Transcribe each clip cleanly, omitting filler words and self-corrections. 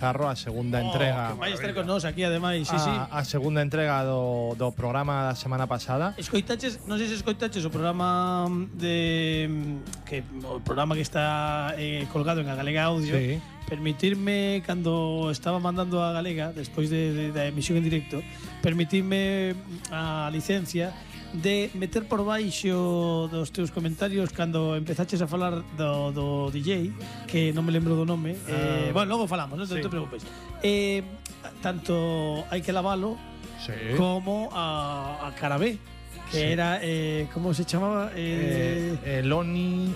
Carro, a segunda entrega. Vai estar con nós aquí, ademais, sí. A segunda entrega do programa da semana pasada. Escoitaches, non sei se escoitaches o programa o programa que está colgado en a Galega Audio. Sí. Permitirme, cando estaba mandando a Galega, despois da emisión en directo, permitirme a licencia de meter por baixo dos teus comentarios cando empezaches a falar do DJ, que non me lembro do nome. Bueno, logo falamos, non te preocupes. Tanto Hai que lavalo, Sí. como a Carabé, que era, ¿cómo se chamaba? Loni.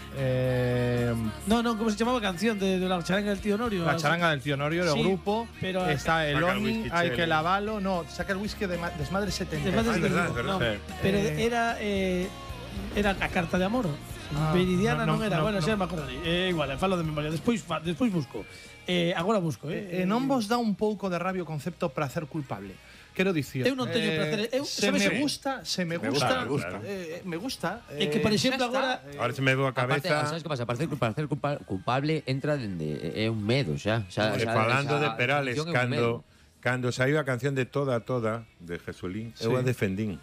No, ¿cómo se chamaba a canción de la charanga del tío Norio? La charanga del tío Norio, el Sí, grupo. pero está el saca el Loni, whisky Hay Chelo. que lavalo. No, saca el whisky de Desmadre 70. Desmadre es verdad, es no, verdad. pero Eh, era a carta de amor. Veridiana no, non era. no, Bueno, no. xa me acordarei. Igual, falo de memoria. Despois busco. Agora busco. Non vos dá un pouco de rabia o concepto prazer culpable. Quero dicir, Eu non teño prazer. se sabes me o- gusta, me gusta. É que, por exemplo, xa está. agora Ahora se me veo a Aparte, cabeza sabes que pasa? Parece culpable entra dende é un medo xa. falando de Perales definición é un medo. cando saiu a canción de Toda de Jesulín, eu Sí. a defendín.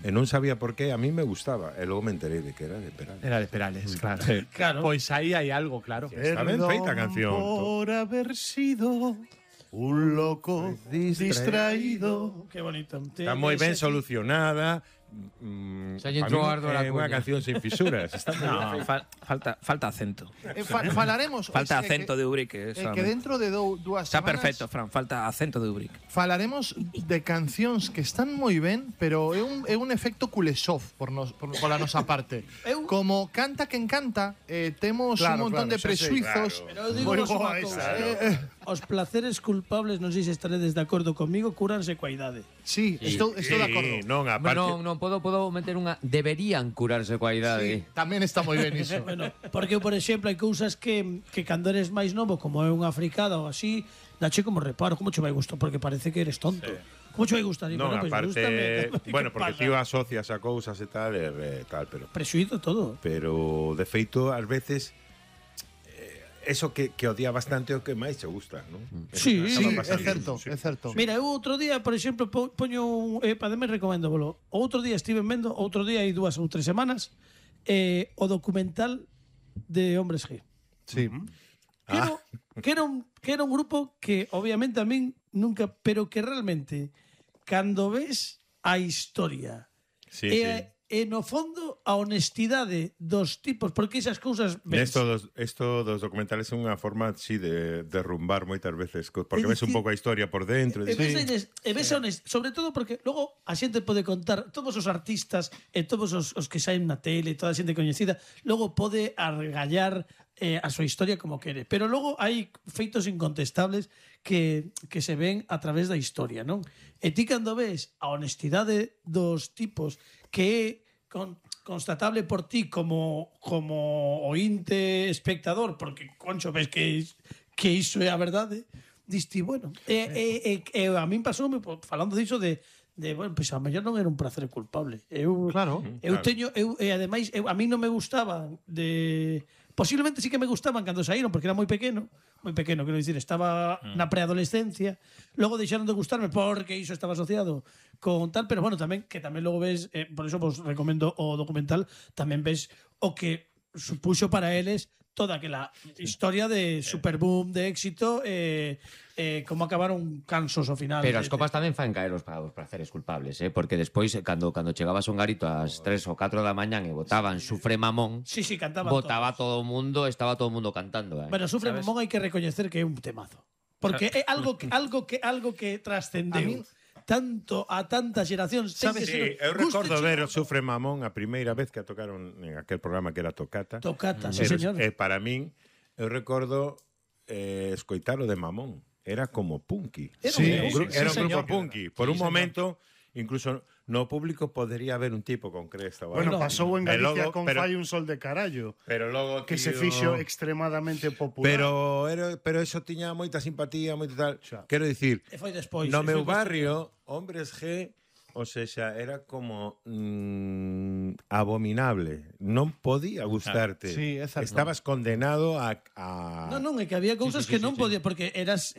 E non sabía por qué, a mí me gustaba, e logo me enterei de que era de Perales. Era de Perales, claro. Claro. Pois aí hai algo, claro. Está ben feita a canción. Por haber sido un loco distraído. Qué bonito. Está moi ben solucionada. Xa lle entrou Pa min ardo a é unha cuña. canción sin fisuras. Está moi ben No, feita. falta acento. Falaremos Falta es que- acento de Ubrique. que dentro de dúas Está semanas perfecto, Fran. Falta acento de Ubrique. falaremos de cancións que están moi ben, pero é un efecto Kuleshov pola nosa parte. Como canta quen canta, temos Claro, un montón de claro, xa sei, presuizos. Pero eu digo Moi vos unha boa cousa, esa. Os placeres culpables, non sei se estaredes de acordo comigo, cúranse coa idade. Sí, estou de acordo. Non, aparte, Non podo meter unha deberían curarse coa Sí, idade. tamén está moi ben iso. Bueno, porque, por exemplo, hai cousas que cando eres máis novo, como é unha fricada ou así, dache como reparo, como che vai gustar? Porque parece que eres tonto. Como che vai gustar? non, Pois aparte, gústame. bueno, ¿Qué porque pasa? tío asocias a cousas e tal, pero Prexuízo todo. de feito ás veces eso que odia bastante é o que máis che gusta, non? Sí, Sí, Acaba é pasando. certo, é certo. Mira, eu outro día, por exemplo, poño para me recomendo bolo. Outro día estive vendo, outro día hai 2 ou 3 semanas, o documental de Hombres G. Sí. Que era un grupo que obviamente a min nunca, pero que realmente cando ves a historia Sí, e no fondo a honestidade dos tipos, porque esas cousas ves. Esto dos documentales é unha forma sí, de derrumbar moitas veces, porque É ves un dicir, pouco a historia por dentro. E ves sobre todo porque logo a xente pode contar, todos os artistas e todos os que saen na tele, toda a xente coñecida, logo pode argallar a súa historia como quere, pero logo hai feitos incontestables que se ven a través da historia, non? E ti cando ves a honestidade dos tipos que é constatable por ti como ointe espectador, porque concho ves que iso é a verdade, diste, bueno, a min pasou falando diso de bueno, pois a mellor non era un placer culpable. Claro. E ademais a mí non me gustaban posiblemente sí que me gustaban cando saíron porque era moi pequeno, quero dicir, estaba na preadolescencia, logo deixaron de gustarme porque iso estaba asociado con tal, pero bueno, tamén logo ves, por eso vos recomendo o documental, tamén ves o que supuxo para eles toda aquela historia de superboom, de éxito, como acabaron cansos ao final. Pero as copas tamén fan caer os praceres culpables, porque despois cando chegabas a un garito ás 3 ou 4 da mañán e botaban Sufre Mamón, Sí, cantaban botaba todos. todo o mundo, estaba todo o mundo cantando, Bueno, Sufre Mamón hai que recoñecer que é un temazo. Porque é algo que trascendeu a tantas xeracións. Sabes, Sí, eu recordo ver o Sufre Mamón a primeira vez que a tocaron en aquel programa que era Tocata. Tocata, sí, Pero, señor. para min, eu recordo escoitar o de Mamón. Era como punky. Era un grupo, Era un sí, grupo señor. punky. Por un momento, incluso no público podría haber un tipo con cresta. Bueno, Bueno, pasou en e Galicia logo- con pero- Fai un sol de carallo, Pero logo, que se tío, fixo extremadamente popular. Pero eso tiña moita simpatía, moito tal. Xa. Quero dicir, E foi despois. no e foi meu barrio, Hombres G O sea, era como abominable. Non podía gustarte. Sí, é certo. Estabas condenado a Non, é que había cousas que non podía, porque eras